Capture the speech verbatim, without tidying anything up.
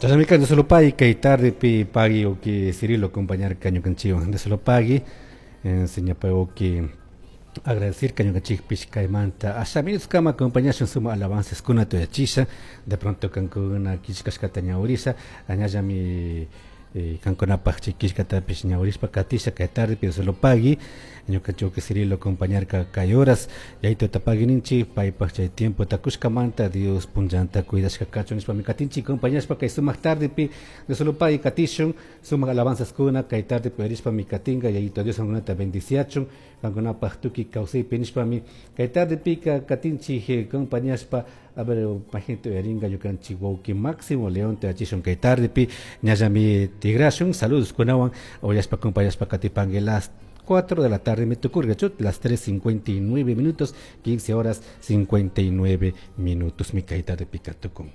Chashnami Dios lo pagui kay tardepi pagui wawki Cirilo acompañarka ñukanchikwan. Dios lo pagui enseña wawki agradecer ñukanchikpish kaymanta asha minutos kama acompañashun sumak alabanzas kunata uyachisha. De pronto kankuna killkashkata ñawirisha, añallami kankunapaj chay killkatapish ñawirishpa katisha kay tardepi. Dios lo pagui ñukanchik wawki Cirilo acompañarka kay horas. Yayituta pagui ninchik paypaj chay tiempota kushkamanta. Dios punllanta cuidashka kachun nishpami katinchik acompañashpa kay sumak tardepi. Dios lo pagui, katishun sumak alabanzas kuna kay tardepi uyarishpami katinka. Yayito Dios kankunata bendiciachun kankunapaj tukuy kawsaypi nishpami kay tardepika katinchik acompañashpa. A ver, gente uyarinka ñukanchik wawki Máximo León tuyachishun kay tardepi. Ñallami tigrashun saludos kunawan. Uyashpa acompañashpa katipanki. Las cuatro de la tarde me tukurka, las tres cincuenta y nueve minutos, quince horas cincuenta y nueve minutos mi kay tardepi katukun.